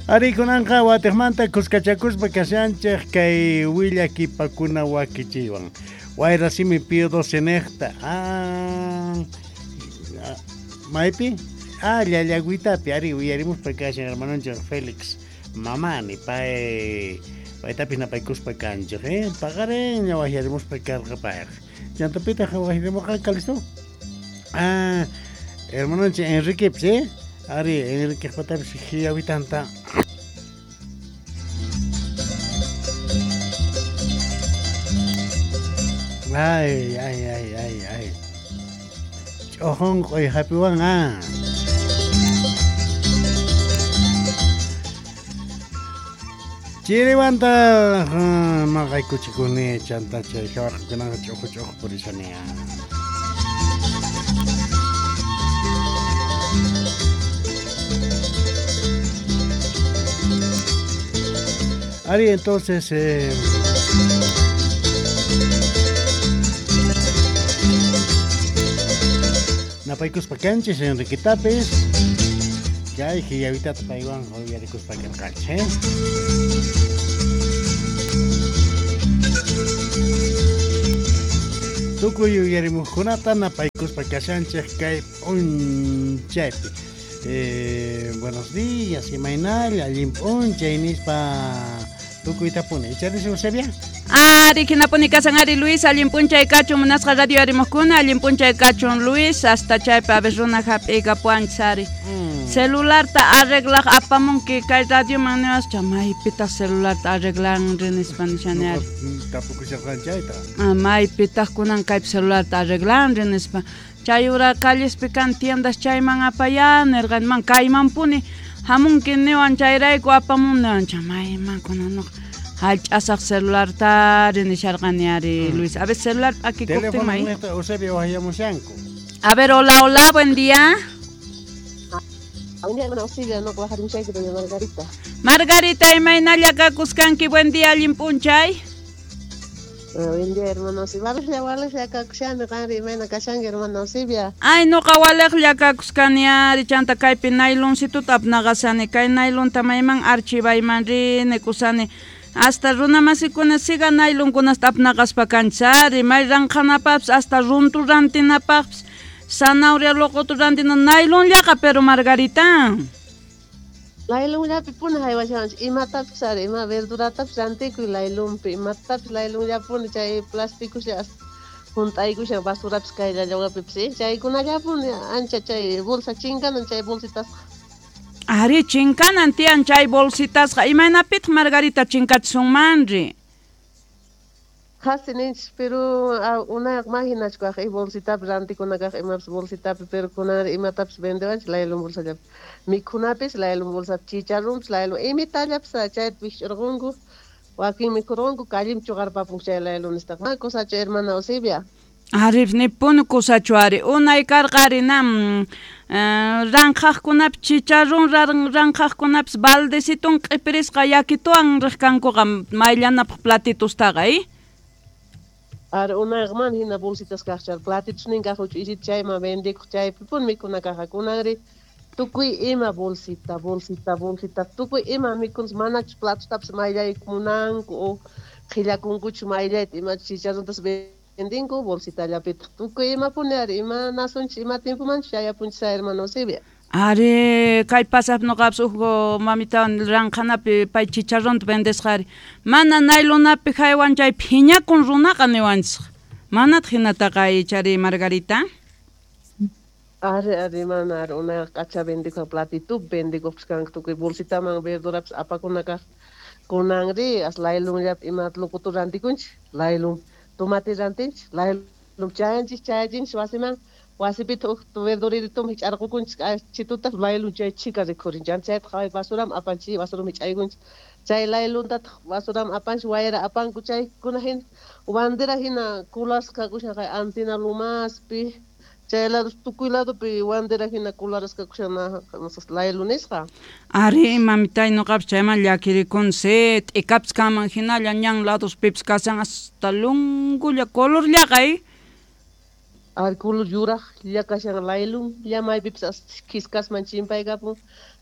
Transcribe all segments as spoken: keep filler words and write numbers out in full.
Ari kunanqa watiqmanta kuskachakuspa kashanchik kay willakipakuna wakichiywan. Wayrasimi Pío doce niqta. Ah, maypi? Ah, llallagüitapi ari uyarimuspa kashan hermanonchik Félix Mamani pay paytapis napaykuspa kanchik, eh? Paqarinña waqyarimuspa karqa payqa. Chantapitaq waqyarimurqa Calisto? Ah, hermanonchik Enriquepis, eh? Ari Enriquepatapis hiyawitanta. Ay, ay, ay, ay, ay. Ch'uqunq'uy hapiwan, ah. Chiriwanta maqaykuchikuni chanta chay jawarqakunaqa ch'uqu ch'uqu purishani. Ari, entonces eh, napaykuspa kanchis Enriquetapis chay hiyawitata paywan uyarikuspa karqanchik, eh? Tukuy uyarimuqkunata napaykuspa kashanchik kay p'unchaypi. Eh, buenos días, imaynalla, allin p'unchay nispa tukuytapuni. Icharis Eusebia? Ari, hinapuni kasan ari Luis, allin p'unchay kachun munasqa radio arimuqkuna, allin p'unchay kachun Luis, hasta chaypi a ver runa hap'iykapuanchis ari. Mm. Celularta arreglaq apamunki kay radioman niwascha, maypitaq celularta arreglanri nispa nishani ari. Tapukusharqan chayta. Ah, maypitaq kunan kaypi celularta arreglanri nispa. Chay ura callespi kan tiendas chayman apaya nirqani, man kaymanpuni hamunki niwan chayrayku apamun niwan cha mayman kunan nuqa hallch'asaq celularta ari nisharqani ari Mm. Luis. A ver celular p'akikuptin may. Teléfono niqta Eusebio waqyamushanku. A ver, hola, hola, buen día. Buen día, hermana Auxilia, no waqarimushayki doña Margarita. Margarita, imaynalla kakuskanki, buen día, allin p'unchay. Buen día, hermana Auxilia. Waliqlla, waliqlla kakushani, qanri imayna kashanki, hermana Auxilia. Ay, nuqa waliqlla kakuskani ari, chanta kaypi nayloncituta apnaqasani, kay naylonta mayman archivayman rini kusani. Hasta runa masikuna siga naylonkunasta apnaqaspa kanchis ari, may ranqhanapaqpis, hasta runtu rantinapaqpis, zanahoria loqotu rantina naylonllaqa, pero Margarita. Laylonllapi puni haywashanchik, imatapis ari, ima verduratapis rantikuy laylonpi, imatapis laylonllapuni chay plasticuslla junt'aykushan basurapis kay llallawapipis, eh? Chaykunallapuni ancha chay bolsa chinkanan chay bolsitasqa. Ari, chinkanan tiyan chay bolsitasqa, imaynapitaq Margarita chinkachisunmanri? Qhasi ninchis, pero unayqa mahinachu kaq, eh, bolsitapi rantikuna kaq imapis bolsitapi, pero kunanri imatapis vendewanchik laylon bolsallapi. Mikhunapis laylon bolsapi, chicharrunpis laylon, imitallapis chayta wikch'urqunku, wakin mikhurqunku, callepi chuqarpapunku chay laylonistaj. Ma kusachu hermana Eusebia? Ari, nipuni kusachu ari, unay karqa ari nam ranqhaqkunapi chicharrun ranqhaqkunapis baldecitun q'ipirisqa yakituwan riq kankuqa mayllanapaq platitustaqa, eh? Ari unayqa mana hina bolsitas kaqchar, platitusnin kaq huch'uychita chayman vendikuq chaypipuni mikhuna kaqa. Kunanri tukuy ima bolsita, bolsita, bolsita, tukuy ima mikhunchis, manachus platostapis mayllayku munanku o qhillakunkuchu mayllayta imachus chicharruntas vendinku bolsitallapitaq. Tukuy imapuni ari, ima nasunchis, ima tiempomanchus chayapunchis hermana Eusebia. Ari, kay pasap nuqapis huk mamitawan ranqhanapi pay chicharrunta vendesqa ari. Mana naylonapi haywan chay phiñakun runaqa niwanchis. Manataq hinataqa ichari Margarita? Ari, ari, mana ari, unayqa k'acha vendikuq platitupi vendikuqpis kanku tukuy bolsitaman verdurapis apakuna kaq. Kunanri as laylonllapi ima loqutu rantikunchik, laylon tomate rantinchik, laylon chayanchik, chayachinchik wasiman. Wasipitaq huk verdurirituma hich'arqukunchik, chituta laylon chay chhika rikhurin, chanta chayta qhaway basuraman apanchik, basuraman hich'aykunchik. Chay laylontataq basuraman apanchik, wayra apanku chaykuna hina, bandera hina kulasqa kakushan kay Antina Lomaspi, chay lado tukuy ladopi bandera hina kularasqa kakushan laylonisqa. Ari, mamitay, nuqapis chayman llakirikuni, si t'ikapis kanman hinalla ñan ladospipis kashan hasta lungulla colorllaqa, eh? Ari, color yuraqlla kashan laylon, lla maypipis khiskasman chimpaykapun.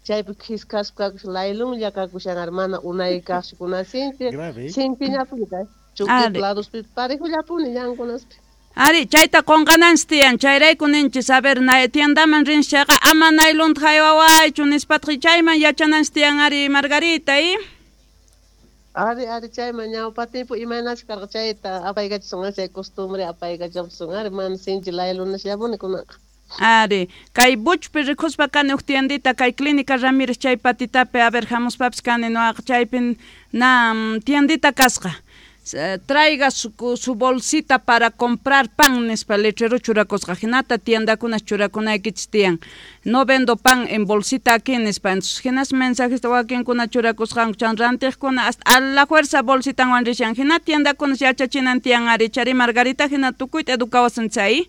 Chaypi khiskaspa kakushan laylunlla kakushan mana unay kaqchu kunan sinchi sinchiñapuni kay chuqi ladospi parejullapuni ñankunaspi. Ari, chayta qonqananchis tiyan, chayrayku ninchis, a ver, na, tiendaman rinchis chayqa ama naylonta haywawaychu nispataq chayman yachananchis tiyan ari Margarita, y? Ari, ari, chayman ñawpa tiempo imaynachu karqa chayta apaykachisun chay costumbre apaykachisun ari mana sinchi laylunasllapuni kunanqa. Ari, kay Buchpi rikuspa kani uj tiendita kay Clínica Ramírez chay patitapi, a ver, hamuspapis kani noqaqa chaypi na tiendita kasqa. Traiga su, su bolsita para comprar pan nispa letrero churakusqa hinata tiendakunas churakunaykichis tiyan no vendo pan en bolsita aquí nispa entonces hinas mensajesta wakinkuna churakusqanku chan rantiqkuna hasta a la fuerza bolsitanwan rishan hina tiendakunas yachachinan tiyan ari chari Margarita hina tukuyta educawasun chay.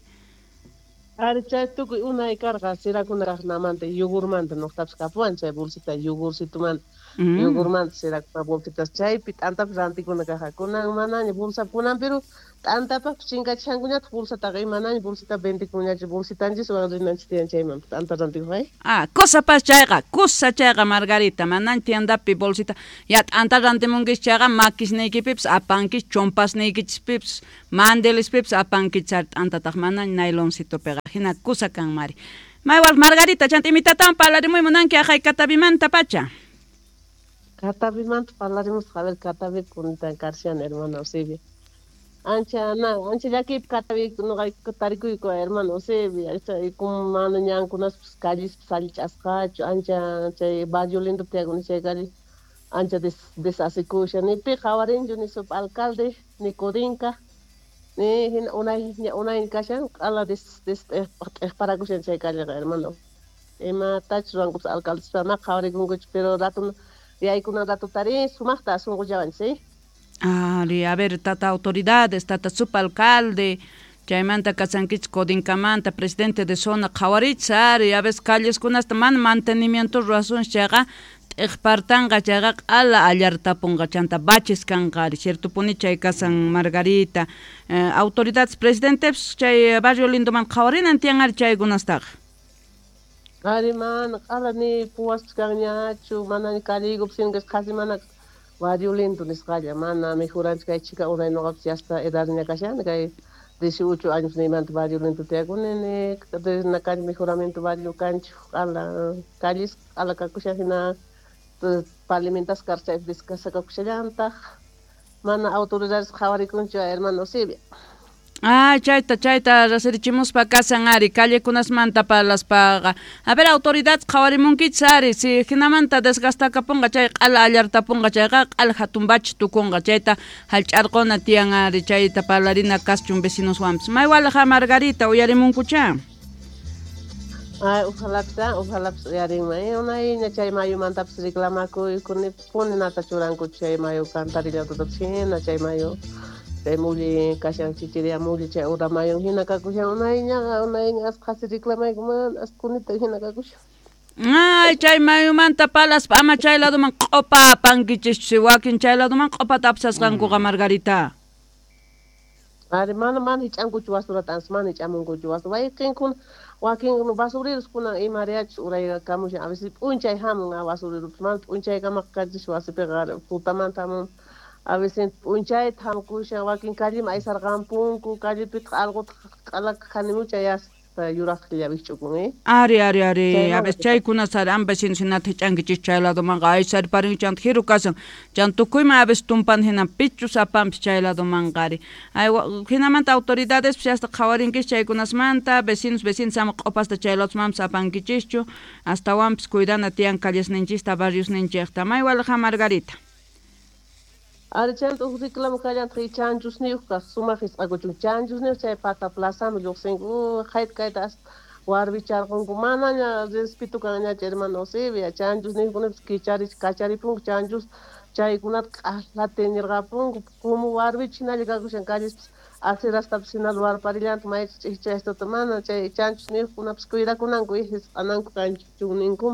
Ari chay tukuy unay karqa sirakuna kaqnamanta yogurmanta nuqtapis kapuwan chay bolsita yogurcitumanta. Mm. Yogurmanta sirakuna bolsitas chaypi t'antapis rantikuna kaqa kunan manaña bolsa kunan pero t'antapaqpis chinkachishankuñataq bolsataqa imanaña bolsita vendikuñachu bolsitanchiswan rinanchis tiyan chayman t'anta rantikuq ay. Ah, kusapas chayqa kusa chayqa Margarita manaña tiendapi bolsita ya t'anta rantimunkis chayqa makisniykipipis apankis chompasniykichispipis mandelispipis apankis t'antataq manaña nayloncitopiqa hina kusa kan mari. Maywal Margarita chanta imitatan parlarimuy munanki aqhay Catavimanta pacha. Catavimanta parlarimusqa, a ver, Catavi kuntan karshan hermano Eusebio. Ancha na, ancha llakiypi Catavi nuqayku tarikuyku hermano Eusebio, chay kuma mana ñankunaspis callispis allich'asqachu, ancha chay barrio lindo tiyakuni chay calle ancha des desasikushan, ni pi qhawarinchu ni sup alcalde ni Codinca ni hina unay unay kashan q'ala des des t'ejparakushan chay calleqa hermano. Imatachus ruwankupas alcaldespa ma qhawarikunkuchu pero rato yaykuna rato tarin sumaqta sunqullawanchis. Ari, a ver, tata autoridades, tata subalcalde, chaymanta kasankichis Codinkamanta, presidente de zona qhawarichis ari, a veces calleskunasta mana mantenimiento ruwasunchis chayqa t'ejpartanqa chayqa q'ala allartapunqa chanta baches kanqa ari, ciertopuni chay kasan Margarita, eh, autoridades presidentepis chay barrio lindoman qhawarinan tiyan ari chaykunastaqa. Ari mana q'ala ni puwaspis kanñachu mana calleykupis sinkas qhasi mana barrio lindo nisqalla mana mejoranchis kay chika unay nuqapis yasta edadña kashani kay dieciocho años niymanta barrio lindo tiyakuni ni na calle mejoramiento barrio kanchu q'ala calles q'ala kakushan hina pavimentasqa karqa chaypi descasakakushallantaq mana autoridades qhawarikunchu hermano Eusebio. Ah, chayta, chayta rasirichimuspa kasan ari, callekunasmanta parlaspaqa. A ver, autoridades qhawarimunkichis ari, si hinamanta desgastakapunqa chay q'ala allartapunqa chayqa q'ala hatun bachi tukunqa, chayta hallch'arquna tiyan ari, chayta parlarina kaschun vecinoswanpis. Maywalaqa Margarita uyarimunkucha. Ay, ojalapis, ojalapis uyarinman. Unayña chay mayumantapis reclamakuykuni puni nata churankuchu chay mayu cantarillatutapis hina chay mayu. Chay mulli kashan chichiria mulli chay ura mayun hina kakushan unayñaqa unayña as qhasi reclamayku mana as kunita hina kakushan. Ay, chay mayumanta palaspa ama chay laduman q'upa apankichischu wakin chay laduman q'upata apsasqankuqa Margarita. Ari mana mana hich'ankuchu basurata ansa mana hich'amunkuchu basura wayqinkuna wakin basureros kunan imariyachus uraykamushan a veces p'unchay hamun basureropis mana p'unchaykamaqa kanchis wasipiqa tutamanta hamun. A veces p'unchayta hamukushan wakin calleman aysarqampunku callepitaq allquta q'alaka qhanimucha yasta yuraqlla wikch'ukun eh. Ari, ari, ari, a veces chaykunas ari ama vecinos hinata hich'ankichis chay ladomanqa aysarparin chanta jiru kasan chan tukuyman a veces tumpan hina pichus apanpis chay ladomanqa ari. Ay, hinamanta autoridades hasta qhawarinkichis chaykunasmanta vecinos vecinos ama q'upasta chay ladosmanpis apankichischu astawanpis cuidana tiyan callesninchista barriosninchikta. Maywalaqa Margarita. Ari chanta uj reclamo kallantaq chanchusniyuq kaq sumaq hisq'akuchun chanchusniyuq chay pata plazaman lluqsinku qayta kayta as warmicharqunku manaña respeto kanñachu hermano Eusebio chanchusniyuqkunapis kicharich kacharipunku chanchus chaykunata q'ala teñirqapunku como warmichu hinalla kakushan callespis acerastapis hinalla warparillantaq maychus ch'ijchayastata mana chay chanchusniyuqkunapis cuidakunanku hisq'ananku kanchunninkum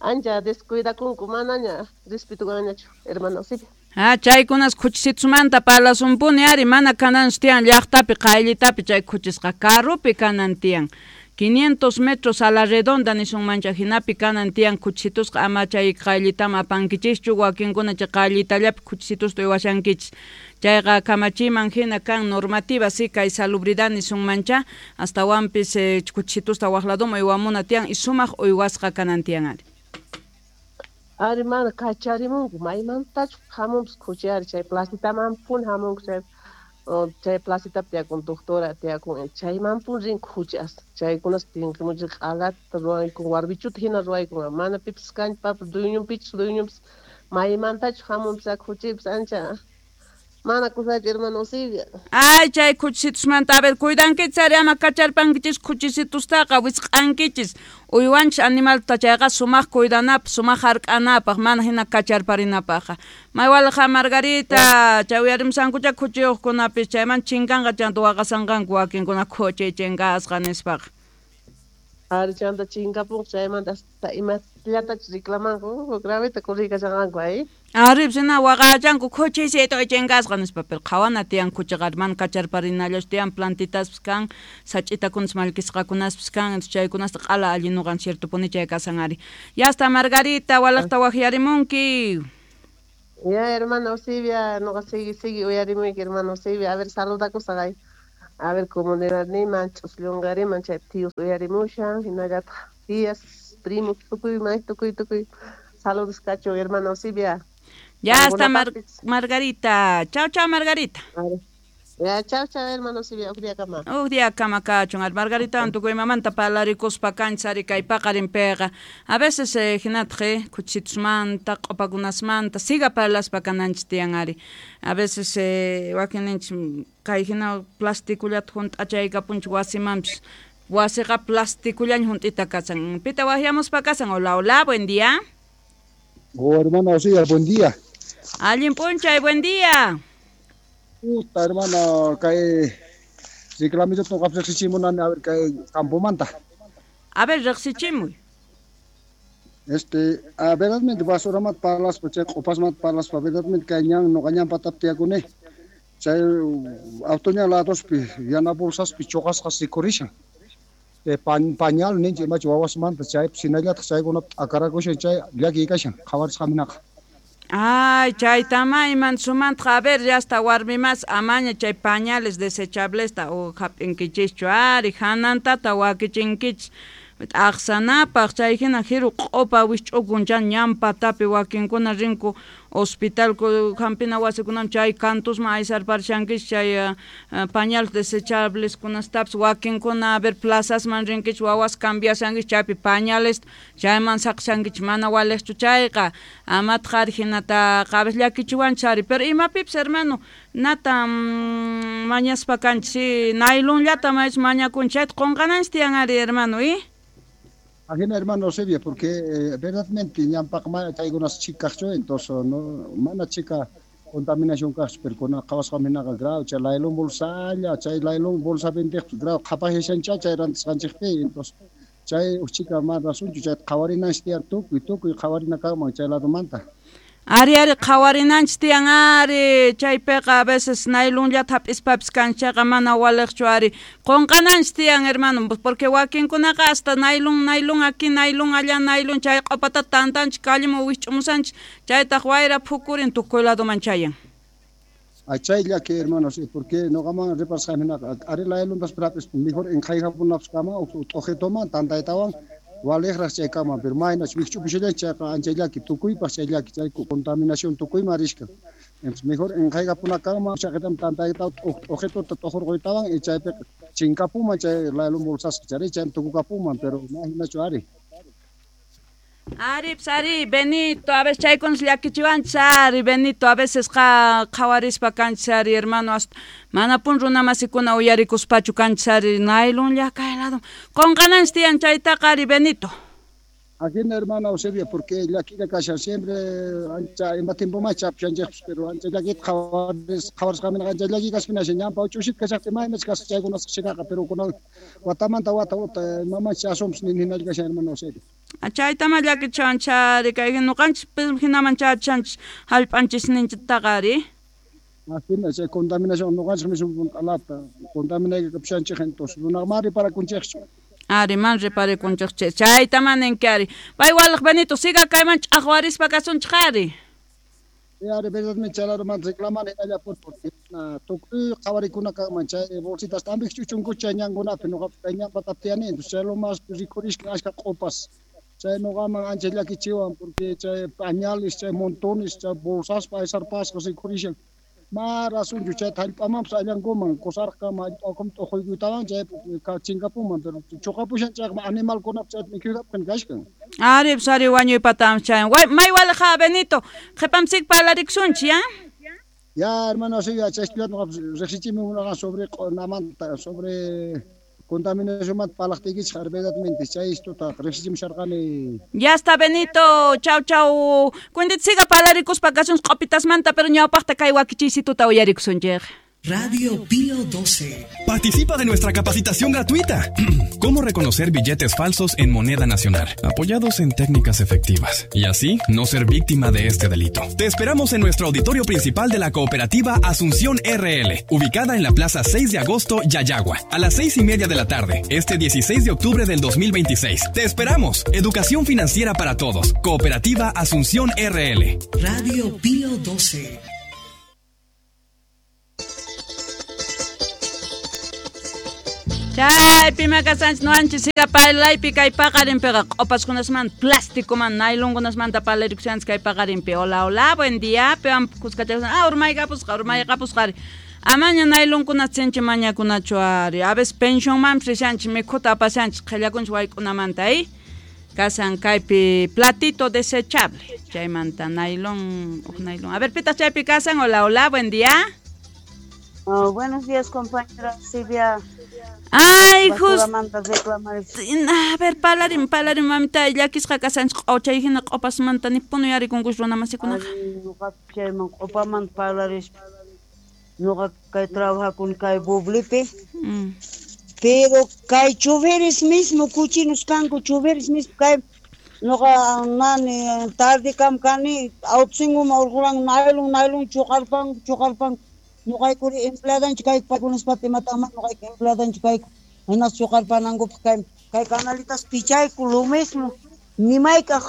ancha descuidakunku manaña respeto kanñachu hermano Eusebio. Ah, chaykunas khuchisitusmanta parlasunpuni ari mana kananchu tiyan llaqtapi qayllitapi chay khuchisqa carropi kanan tiyan. quinientos metros a la redonda nisunmancha hinapi kanan tiyan khuchisitusqa ama chay qayllitama apankichischu wakinkuna chay qayllitallapi khuchisitusta uywashankichis chayqa kamachiman hina kan normativa si kay salubridad nisunmancha astawanpis eh, khuchisitusta waq ladoman uywamuna tiyan y sumaq uywasqa kanan tiyan ari. Ari mana kacharimunku maymantachu hamunpis khuchi ari chay placitamanpuni hamunku chay chay placitapi tiyakun doctora tiyakun chaymanpuni rin khuchi as chaykunas tinkimunchik q'alata ruwaykun warbichuta hina ruwaykun mana pipis kanchu papa dueñonpichus dueñonpis maymantachu hamunpis khuchipis ancha mana kusachu hermano Eusebia. Ay chay khuchisitusmanta a ver cuidankichis ari ama kacharpankichis khuchisitustaqa wisq'ankichis uywanchis animalta chayqa sumaq cuidanapaq sumaq hark'anapaq mana hina kacharparinapaqqa maywalqa Margarita chay uyarimusankucha khuchiyuqkunapis chayman chinkanqa chanta waqasanqanku wakinkuna khuchi chinkasqa nispaqa. Ari chanta chinkapunqa chaymanta hasta imallatachus reclamanku graveta corrikashanqanku ay. Ari sina waqachanku khuchisito chinkasqa nispa pero qhawana tiyan khuchiqa mana kacharparinallachu tiyan plantitaspis kan sach'itakunas mallkisqakunaspis kan chaykunasta q'ala allin nuqan ciertopuni chay kasan ari. Ya está Margarita walaqta waqyarimunki. Ya hermana Eusebia nuqa sigui sigui uyarimuyki hermana Eusebia a ver saludakusaq ay. A ver comunidadniman ch'usllunqariman chay tíos uyarimushan hinallataq tías primos tukuy may tukuy tukuy saludos kachun hermana Eusebia. Ya está Mar Margarita. Chao, chao, Margarita. Ya, chao, chao, hermano Eusebia. Uj día kama. Uj día kama kachun. Al Margarita tukuy mamanta parlarikuspa kanchari kay paqarinpiqa. A veces eh, hinataq khuchisitusmanta, q'upakunasmanta, siga parlaspa kananchis tiyan ari. A veces eh, wakinninchis kay hina plastikullata hunt'achaykapunchik wasimanpis. Wasiqa plastikullaña hunt'ita kasan. Pita waqyamuspa kasan. Hola, hola, buen día. Oh, hermana Eusebia, buen día. Allin p'unchay, buen día. Puta, hermano, kay reclamito toca riqsichimunani, a ver, kay campomanta. A ver, riqsichimuy. Este, a verdaderamente basuramanta parlaspa, chay q'upasmanta parlaspa, verdaderamente kay ñan nuqa ñan patapi tiyakuni. Chay auto ñan ladospi, yana bolsaspi chuqasqas rikurishan. Pan, pañal ninchik imachu wawasmanta chaypi hinallataq chaykunapi t'akarakushan chay llakiy kashan qhawarisqaminaqa. Ay, chaytama iman sumantaq a ver, ya hasta warmimas amaña chay pañales desechablesta o hap'inkichischu ari hanantata wakichinkichis t'aqsanapaq chay hina jiru q'upa wisch'ukun chan ñan patapi wakinkuna rinku hospital hampina wasikunaman chay kantusman aysarparishankichis chay uh, pañales desechableskunastapis wakinkuna a ver plazasman rinkichis wawas cambiashankichis chaypi pañales chayman saqshankichis mana waliqchu chayqa amataq ari hinataqa a veces llakichiwanchis ari pero imapipis hermano nata mm, mañaspa kanchis si nailonllata maychus mañakunchis chayta qunqananchis tiyan ari hermano y Ajena hermano Eusebio, porque eh, verdaderamente ñampaq mana chaykunas chikaqchu, entonces no mana chika contaminación kaqchu, pero kuna qhawasqaminaqa grave, chay laylon bolsalla, chay laylon bolsa vendeq grave qhapaqyashancha chay rantisqanchikpi, entonces chay uj chika mana rasunchu, chay qhawarinanchis tiyan tukuy tukuy qhawarina kanman chay ladomanta. Ari ari qhawarinanchis tiyan ari chaypiqa a veces nailonllata hap'ispapis kanchayqa mana waliqchu ari qunqananchis tiyan hermano porque wakinkunaqa hasta nailon nailon aquí nailon allá nailon chay q'upata tantanchis calleman wisch'umusanchis chaytaq wayra phukurin tukuy ladoman chayan. Ay chay llaki hermano sí, porque nuqaman reparasqaminaqa ari lailontas hap'ispa mejor inqhaykapunapis kama t'uqituman tantaytawan waliqraq chay kama, pero maynach wikch'upushallanchik chayqa ancha llaki tukuypaq chay llaki chay contaminación tukuyman rishka. Entonces mejor inqhaykapuna kama chaqitam tantaytawan t'uqituta t'uqurquytawan y chaypiqa chinkapuman chay laylon bolsasqa chari chaymi tukukapuman, pero ma hinachu ari. Ari, pues, ari, Benito, a veces chaykunas llakichiwanchis ari, Benito, a veces qa qhawarispa kanchis ari, hermano, hasta manapun runamasikuna uyarikuspachu kanchis ari, nailonlla kay lado. Qunqananchis tiyan chaytaqa ari, Benito. Ajina hermana Eusebia, porque llakilla kashan siempre ancha ima tiempo más chapshanchikpis, pero ancha llakita qhawaris qhawarisqaminaqa ancha llaki kaspinashan ñanpa uch'ushita kashaqtin maymach kasqa chaykunasqa chinaqa, pero kunan watamanta wata wata imamanchis asumpis ninhinalla kashan hermana Eusebia. Chaytama llakichiwanchis ari, kay nuqanchis hinaman chachanchis hallp'anchisninchiktaqa ari. Ajina chay contaminación nuqanchik mismo q'alata contaminaykapushanchik entonces runaqa mari parakunchikchu. Ari man reparikunchik chay chayta maninki ari pay walaj Benito siga kayman ch'aqwarispa kasunchik ari. Ari verdadmente chaylaruman reclamani hinalla porque tukuy qhawarikuna kanman chay bolsitas tambik chuchunku chay ñankunapi nuqa kay ñanpatapi tiyani entonces chay lo más rikhurishka ashka q'upas chay nuqaman ancha llakichiwan porque chay pañales chay montones chay bolsaspa aysarpasqa rikhurishan ma rasunchu chay hallp'amanpas allankuman kusarqama hallp'akum t'uquykuytawan chay chinkapunman pero chuqapushan chayqa animalkunap chay mikhuytapin kashkan. Ari sari wañuypatam chay may walaj Benito qhipamsik parlarikusunchik ya. Ya hermano sí ya chay riqsichimi munaqa sobre namanta sobre contaminación mat parlaqtiykichik verdadmente chay esto riqsichimusharqani. Ya está Benito, chau chau. Cuéntete siga parlarikuspa kasunchik q'upitasmanta pero ñawpaqta kay wakichiysituta uyarikusunchik. Radio Pío doce. Participa de nuestra capacitación gratuita. Cómo reconocer billetes falsos en moneda nacional, apoyados en técnicas efectivas, y así no ser víctima de este delito. Te esperamos en nuestro auditorio principal de la cooperativa Asunción R L, ubicada en la Plaza seis de agosto, Yayagua, a las seis y media de la tarde, este dieciséis de octubre del dos mil veintiséis. Te esperamos. Educación financiera para todos. Cooperativa Asunción R L. Radio Pío doce. Chaypi makasanchik nuwanchik siga parlaypi kay paqarinpiqa q'upaskunasmanta plásticoman nailonkunasmanta parlarikusanchik kay paqarinpi. Hola, hola, buen día. Piwan kuskachashan ah urmaykapusqa urmaykapusqa ari amaña nailonkunata sinchi mañakunachu ari a veces pensionmanpis rishanchik mikhuta apashanchik qhillakunchik wayk'unamanta eh kasan kaypi platito desechable chaymanta nailon uj nailon. A ver pitaq chaypi kasan. Hola, hola, buen día. Oh, buenos días, compañera Silvia. Ay, justo. A ver, parlarin, parlarin, mamita, llakisqa kasanchik q'uchay hina q'upasmanta nipuni yarikunkush runa masikunaqa. Ñuqa chayman q'upamanta parlarispa. Ñuqa kay trabajakuni kay bublipi. Mm. Pero kay choferes mismo, cochinos kanku, choferes mismo kay ñuqa nani tarde kam kani autsinguma urquran naylon naylon chuqarpanku chuqarpanku. Ñuqaykuri empleadanchik kayku paykunaspata imataqman ñuqayku empleadanchik kayku hinas chuqarpanankupaq kay kay canalitas pichayku lo mismo nimaykaq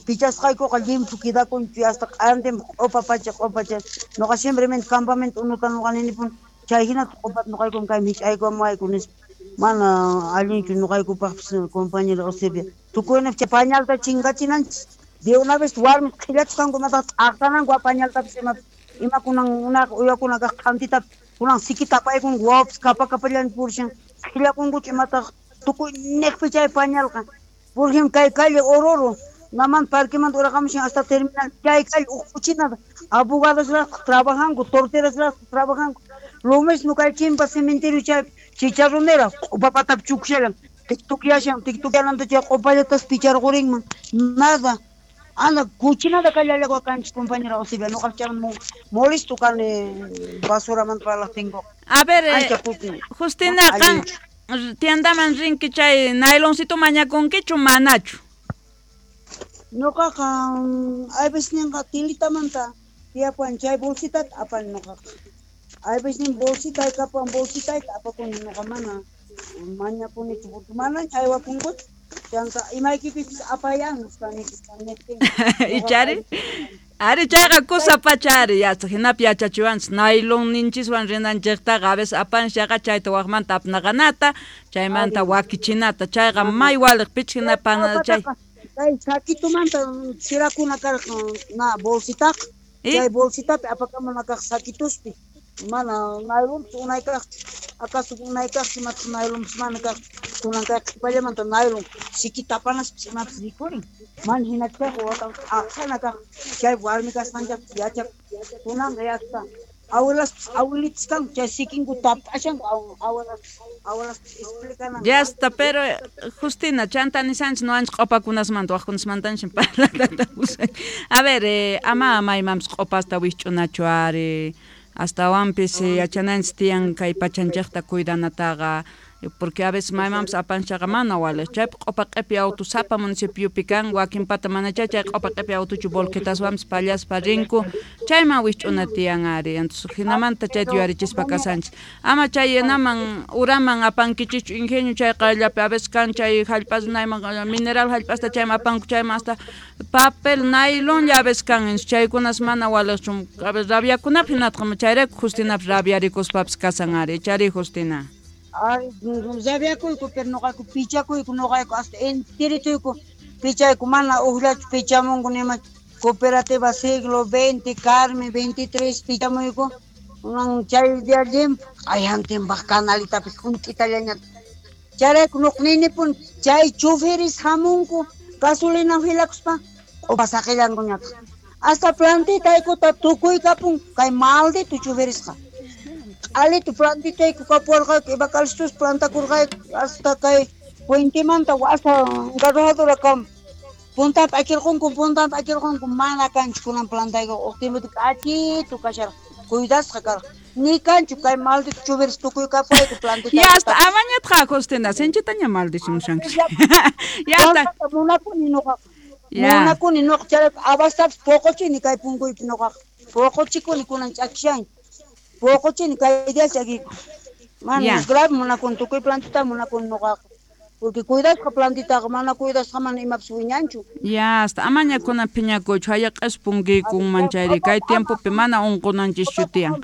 pichasqaykuqa llimphu quedakunchu hasta q'antinpaq q'upa pacha q'upa chay ñuqa simplemente campamento unuta ñuqa ninipuni chay hinata q'upata ñuqaykum kay mich'ayku amuwayku nispa mana allinchu ñuqaykupaqpis compañero Eusebia tukuynap chay pañalta chinkachinanchik de una vez warmi qhillachisqanku imataq t'aqsananku pañaltapis imapis imakunan unaqa uyakuna kaq q'antita kunan siki tapaykun wawapis kapa kapallan purishan qhillakunkuchu imataq tukuy niqpi chay pañalqa por ejemplo kay calle Oruro naman parquemanta uraqamushan hasta terminal chay calle uj kuchinata abogadosraqtaq trabajanku torterasraqtaq trabajanku lo mismo kay chimpa cementerio chay chicharronera q'upapatapi chukushallan tiktukyashan tiktukyananta chay q'upallatas picharqurinman nada. Anda, kuchinata kallallakua kanchik compañera Eusebia, ñuqa chayman molesto kani basuramanta parlaqtinkuqa. A ver, eh, Justina, qan tiendaman rinki chay nayloncito mañakunkichu manachu? Ñuqaqa aybisninqa tilitamanta tiyapuwan chay bolsitata apani ñuqaqa. Aybisnin bolsitay kapuwan bolsitayta apakuni ñuqa mana mañakunichu porque manaña aywakunkuchu. Chanta imaykipipis apayan nispa Ichari ari chayqa kusa pachari yacha hinapi yachachiwanchik naylon ninchiswan rinanchiktaqa a veces apanshaqa chayta waqmanta apnaqanata chaymanta wakichinata chayqa may waliq pichik hina pana chay kay saquitumanta chirakuna karqa na bolsitaqa chay bolsitapi apakamuna kaq saquituspi mana naylonpis unay kaqchu acaso unay kaqchu imatas naylonpis mana kaqchu kunan kay qhipallamanta naylon siki tapanaspis imapis rikurin mana hinachkaqqa watan aqsana kaq chay warmi kasqanchaqpis yachaq kunanqa yasta abuelaspis abuelitas kanku chay sikinku tapashanku abuelaspis abuelaspis explicananku. Ya está, pero Justina, chanta nisanchik nuwanchik q'upakunasmanta waqkunasmantanchik parlatata A ver, eh, ama maymanpis q'upasta wikch'unachu ari astawanpis yachananchik tiyan kay pachanchikta cuidanataqa Porque a veces maymanpas apanchaqa mana waliq. Chaypi q'upa q'ipi auto sapa municipiopi kan, wakinpata mana chay chay q'upa q'ipi autochu volquetaswanpas pallaspa rinku, chayman wikch'una tiyan ari. Entonces hinamanta chayta yuyarichispa kasanchis. Ama chay yanaman uraman apankichichu ingenio chay qayllapi a veces kan chay hallp'as nayman mineral hallp'asta chayman apanku chayman hasta papel nailon a veces kan, chaykunas mana waliqchu. A veces rabiakunapi hinatqa chayrayku Justinapi rabiarikuspapis kasan ari. Chari Justina. Ay, rabiakuyku pero noqayku pichakuyku noqayku hasta enterituyku pichayku mana uqllachu pichamunku nima cooperativa siglo veinte Carmen veintitrés pichamuyku unan chay día llimpu q'ayantinpaq canalitapis junt'itallañata chayrayku nuqninipun chay choferes hamunku gasolina filakuspa q'upa saqillankuñataq hasta plantitaykuta tukuykapun kay maldito choferesqa alito plantitayku kapuwarqayku ibacalistus plantakurqayku hasta kay puentemanta hasta garrajadora kam puntapi akirqunku puntapi akirqunku mana kanchu kunan plantayku uq tiempopi k'achitu kasharqa cuidasqa karqa ni kanchu kay maldito choferes tukuykapuwayku plantitayku. Ya hasta amañatqa Justina sinchitaña maldicimushanki. Ya hasta munakuni nuqaqa munakuni nuqa chayrayku abastapis puquchini kay punkuypi nuqaqa puquchikuni kunan ch'akishanki puquchini kay día ch'akiyku mana es grave munakuni tukuy plantita munakuni nuqaqa porque cuidasqa plantitaqa mana cuidasqa mana imapis wiñanchu. Ya hasta amaña kunan phiñakuychu hayaq'as punkiykunman chayri kay tiempopi mana unqunanchischu tiyan.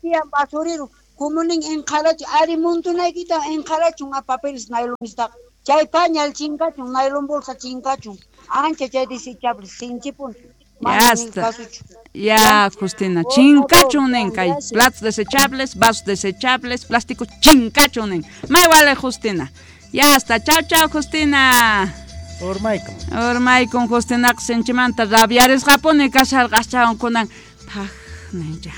Tiyan basurero kumunin enqharachu ari montonaykita enqharachun a papeles nailonistaqa chay pañal chinkachun nailon bolsa chinkachun ancha chay desechable sinchipun. Ya está. Ya, Justina, chinkachun nin kay platos desechables, vasos desechables, plástico chinkachun nin. May wale Justina. Ya está. Chao, chao, Justina. Urmaykun. Urmaykun Justina sinchimanta rabiarisqapuni kasharqaschawan kunan paj nincha.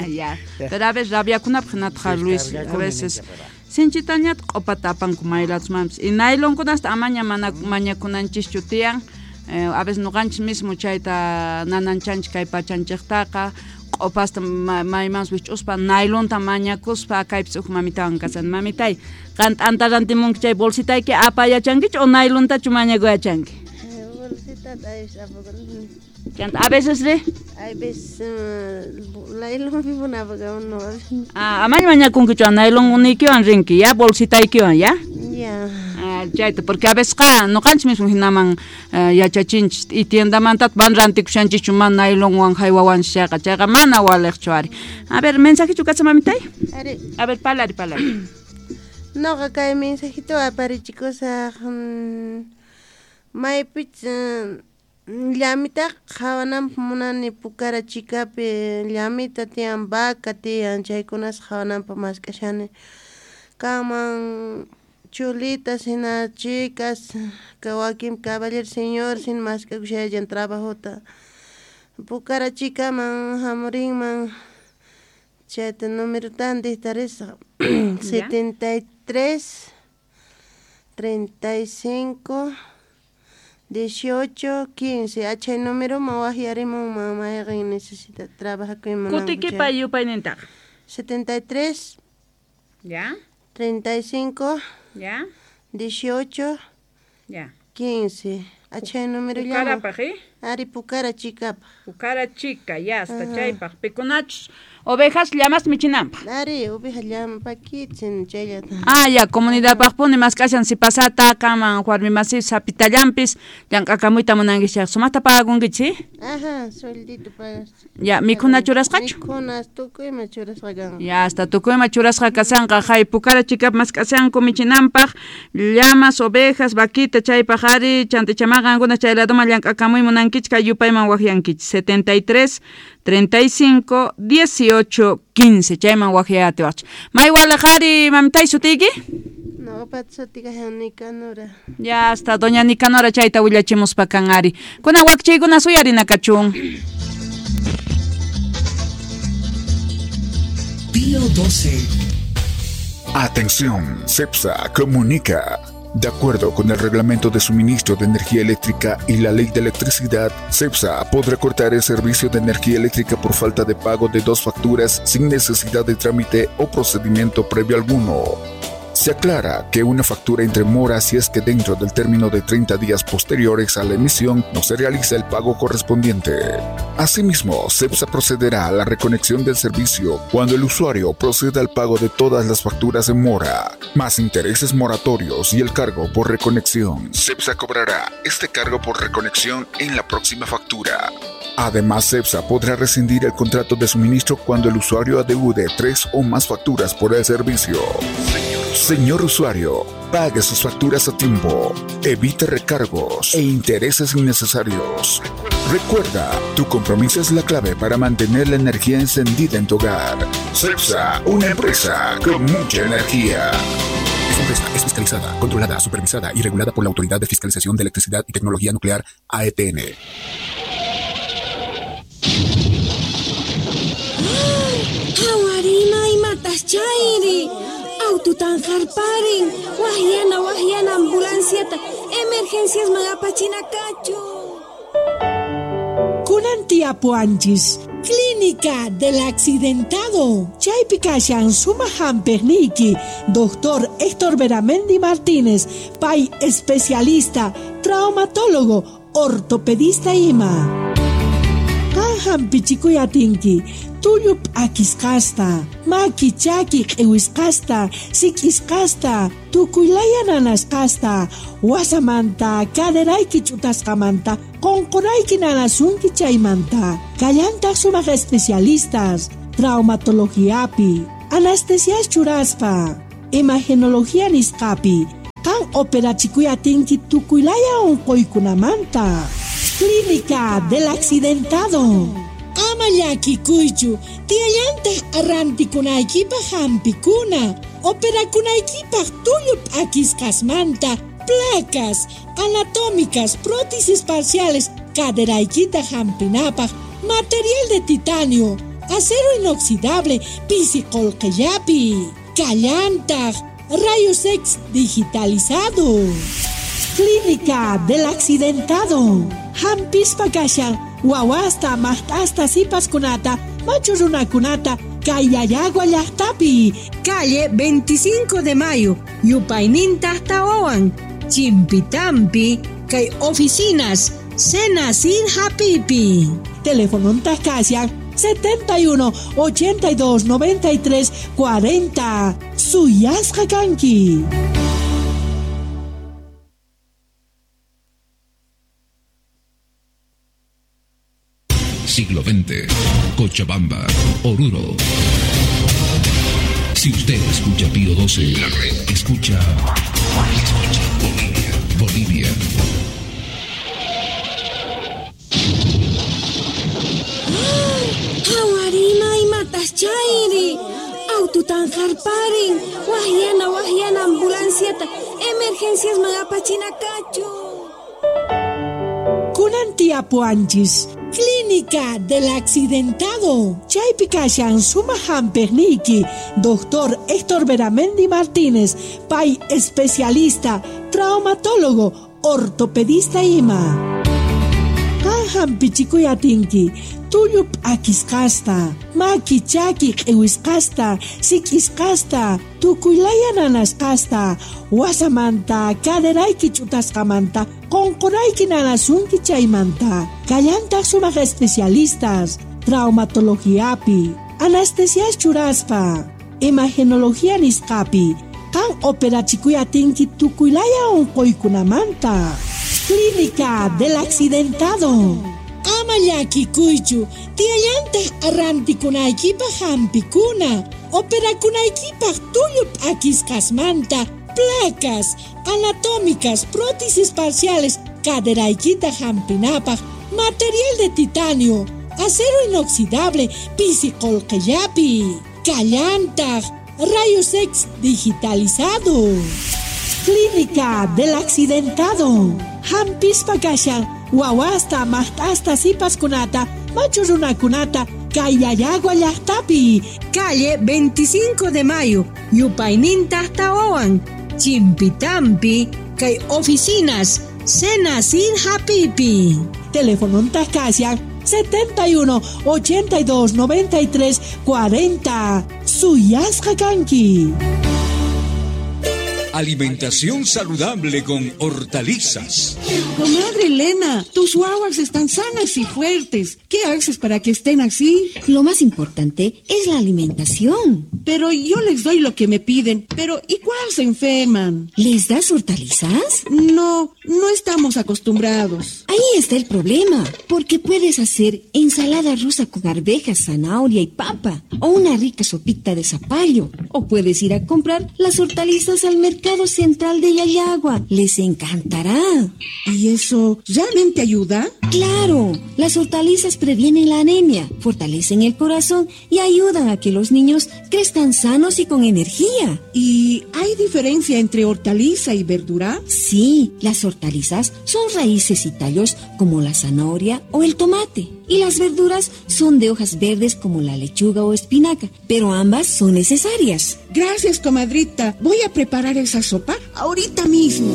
Ya. Pero a veces rabiakunapaq hinatqa Luis, a veces sinchitañata q'upata apanku maylatusmanpis. Y nailonkunasta amaña mana mañakunanchischu tiyan. Eh, a veces nuqanchis mismo chayta nananchanchik kay pachanchiktaqa q'upasta maymanpas wich'uspa nailonta mañakuspa kaypis uj mamitawan kasan. Mamitay, qan t'anta rantimunki chay bolsitayki apayachankichu o nailontachu mañakuyachanki? Bolsitata apakuni. Chanta a veces ri? A veces nailonpi apakuni. Ah, amaña mañakunkichu nailon uniykiwan rinki, ya bolsitaykiwan, ya? Ya. Chayta, porque a veces qa nuqanchis mismo hinaman yachachinchis y tiendamanta van rantikushanchikchu mana nailonwan haywawanchis chayqa chayqa mana waliqchu ari. A ver, mensajichu kacha mamitay? Ari. A ver, palari, palari. Noqa kay mensajito aparichikusaq maypich llamitaqa qhawananpaq munani Pukara chikapi llamita tiyan vaca tiyan chaykunas qhawananpaq mask'ashani kanman chulitas hina chicas wakin caballero señor sin mask'akushallan trabajota Pukara chikaman hamurinman chayta numerotan dictarisaq setenta y tres treinta y cinco dieciocho quince achay numeroman waqyarimunman mayqin necesita trabajakuyman Kutikipa yupaynintaqa setenta y tres ya treinta y cinco ya dieciocho ya quince achay número Pukarapaq, eh? Ari Pukara chikapaq. Pukara chika, ya hasta chaypaq pikunachus ovejas llamas michinanpaq. Ari oveja llama pakichin chayllata. Ah, ya comunidadpaqpuni mask'ashan si pasata kaman warmi masi sapitallampis llank'akamuyta munankichik chayqa sumaqta pagakunkichik. Ajá, sueldito pagas. Ya, mikhuna churasqachu? Mikhuna tukuyma churasqa kanqa. Ya, hasta tukuyma churasqa kasanqa hay Pukara chikap mask'ashanku michinanpaq llamas, ovejas, vaquita chaypaq ari chantichamaqa qankuna chay ladoman llank'akamuy munankichik kay yupayman waqyankichik setenta y tres treinta y cinco dieciocho quince chayman waqyatiwaqchik. May walaq ari mamitay sutiyki? Noqapata sutiyqa Nicanora. Ya hasta doña Nicanora chayta willachimuspa kan ari. Kunan wakchaykuna suyarina kachun. Pío doce. Atención, CEPSA comunica. De acuerdo con el Reglamento de Suministro de Energía Eléctrica y la Ley de Electricidad, CEPSA podrá cortar el servicio de energía eléctrica por falta de pago de dos facturas sin necesidad de trámite o procedimiento previo alguno. Se aclara que una factura entre mora si es que dentro del término de treinta días posteriores a la emisión no se realiza el pago correspondiente. Asimismo, CEPSA procederá a la reconexión del servicio cuando el usuario proceda al pago de todas las facturas en mora, más intereses moratorios y el cargo por reconexión. CEPSA cobrará este cargo por reconexión en la próxima factura. Además, CEPSA podrá rescindir el contrato de suministro cuando el usuario adeude tres o más facturas por el servicio. Señor usuario, pague sus facturas a tiempo, evite recargos e intereses innecesarios. Recuerda, tu compromiso es la clave para mantener la energía encendida en tu hogar. CEPSA, una empresa con mucha energía. Esta empresa es fiscalizada, controlada, supervisada y regulada por la Autoridad de Fiscalización de Electricidad y Tecnología Nuclear, A E T N. Hawarima imatas chayri. Aututan jarparin. Wahyana wahyana ambulanciata. Emergencias magapachina kachu. Kunan tiapuanchis. Clínica del Accidentado. Chaypi kashan suma hamperniki. Doctor Héctor Beramendi Martínez, pay especialista, traumatólogo, ortopedista ima. Qan pichikuyatinki, tullup akisqasta, maki chaki q'iwisqasta, sik'isqasta, tukuylaya nanasqasta, wasamanta, caderayki ch'utasqamanta, qunqurayki nanasunki chaymanta. Kallantaq sumaq especialistas, traumatologiapi, anestesias churaspa, imagenología nisqapi, qan operachikuyatinki tukuylaya unquykunamanta. Clínica del Accidentado. Ama llakikuychu, tiyallantaq arrantikunaykipaq hampikuna, operakunaykipaq tullu p'akisqasmanta, placas anatómicas, prótesis parciales, caderaykita hampinapaq, material de titanio, acero inoxidable, pisi qolqellapi, kallantaq, rayos X digitalizado. Clínica del Accidentado. Hampispa kashan, wawasta, maqt'asta, sipaskunata, machu runakunata, Kayayagua llaqtapi. Calle veinticinco de Mayo, Yupayninta Tawawan, Chimpitampi, kay oficinas, Senacid Hapipi. Teléfono kashan, setenta y uno, ochenta y dos, noventa y tres, cuarenta. Suyasqa kanki. Siglo veinte, Cochabamba, Oruro. Si usted escucha Pío doce, la red escucha, escucha Bolivia, Bolivia. Hawarima imatas chayri. Aututan jarparin. Wahyana wahyana ambulanciata. Emergencias magapachina kachu. Kunan tiapuanchis. Clínica del Accidentado. Chaypi kashan suma hamperniki. Doctor Héctor Beramendi Martínez, pay especialista, traumatólogo, ortopedista ima. Qan hampichikuyatinki, tullu p'akisqasta, maki chaki q'iwisqasta, sik'isqasta, tukuylaya nanasqasta, wasamanta, caderayki ch'utasqamanta, qunqurayki nanasunki chaymanta. Kallantaq sumaq especialistas, traumatologiapi, anestesias churaspa, imagenología nisqapi, qan operachikuyatinki tukuylaya unquykunamanta. Clínica del Accidentado. Ama llakikuychu, tiyallantaq arrantikunaykipaq hampikuna, operakunaykipaq tullu p'akisqasmanta, placas anatómicas, prótesis parciales, caderaykita hampinapaq, material de titanio, acero inoxidable, pisi qolqellapi, kallantaq, rayos X digitalizado. Clínica del Accidentado. Hampispa kashan, wawasta, maqt'asta, sipaskunata, machu runakunata, Kayayagua llaqtapi. Calle veinticinco de Mayo, Yupayninta Tawawan, Chimpitampi, kay oficinas, Senacid Hapipi. Teléfono kashan, setenta y uno, ochenta y dos, noventa y tres, cuarenta. Suyasqa kanki. Alimentación saludable con hortalizas. Comadre Elena, tus guaguas están sanas y fuertes. ¿Qué haces para que estén así? Lo más importante es la alimentación. Pero yo les doy lo que me piden. Pero igual se enferman. ¿Les das hortalizas? No, no estamos acostumbrados. Ahí está el problema. Porque puedes hacer ensalada rusa con arvejas, zanahoria y papa. O una rica sopita de zapallo. O puedes ir a comprar las hortalizas al mercado Central de Llallagua. Les encantará. ¿Y eso realmente ayuda? ¡Claro! Las hortalizas previenen la anemia, fortalecen el corazón y ayudan a que los niños crezcan sanos y con energía. ¿Y hay diferencia entre hortaliza y verdura? Sí, las hortalizas son raíces y tallos como la zanahoria o el tomate. Y las verduras son de hojas verdes como la lechuga o espinaca, pero ambas son necesarias. Gracias, comadrita. Voy a preparar esa sopa ahorita mismo.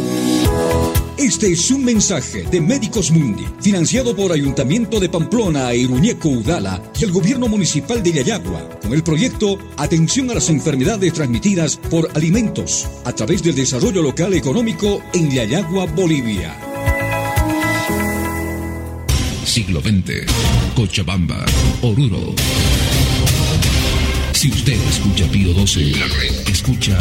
Este es un mensaje de Médicos Mundi, financiado por Ayuntamiento de Pamplona e Iruñeco Udala y el Gobierno Municipal de Llallagua, con el proyecto Atención a las Enfermedades Transmitidas por Alimentos, a través del Desarrollo Local Económico en Llallagua, Bolivia. Siglo veinte, Cochabamba, Oruro. Si usted escucha Pío doce, la red escucha